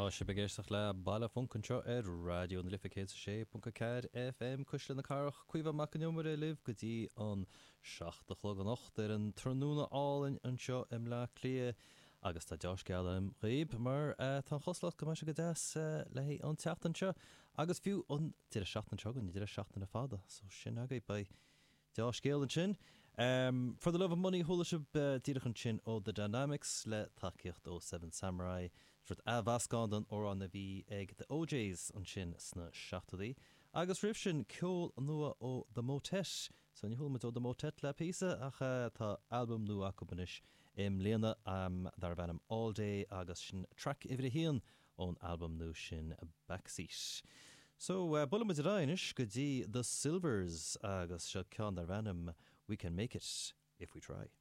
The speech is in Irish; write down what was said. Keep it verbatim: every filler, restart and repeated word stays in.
Tá sibh ag éisteacht le Baile Func anseo ar Raidió na Life céad sé ponc a ceathair FM Cuisle na Cathrach Caoimhe Mac an Iomaire libh go dtí an seacht a chlog anocht ar an tráthnóna álainn anseo i mBleá Cliath agus tá deá-scéal agam dhaoibh mar tá an chosúlacht go mbeidh sé go deas le haghaidh an tseachtain seo agus fiú an deireadh seachtaine seo chugainn deireadh seachtaine fada so sin agaibh beidh deá-scéal ansin. Um, For the Love of Money chuala sibh uh, díreach ansin ó The Dynamics le tacaíocht ó Seven Samurai Rud athmheascán den amhrán a bhí ag The O'Jays ansin sna seachtóidí. Agus roimh sin ceol nua ó The Motet, so ní chuala muid ó The Motet le píosa ach uh, tá albam nua acu anois i mbliana um, darb ainm All Day agus sin track uimhir a haon ón albam nua sin Backseat. So uh, buailfidh muid anois go dtí The Sylvers agus seo ceann darb ainm We Can Make It If We Try.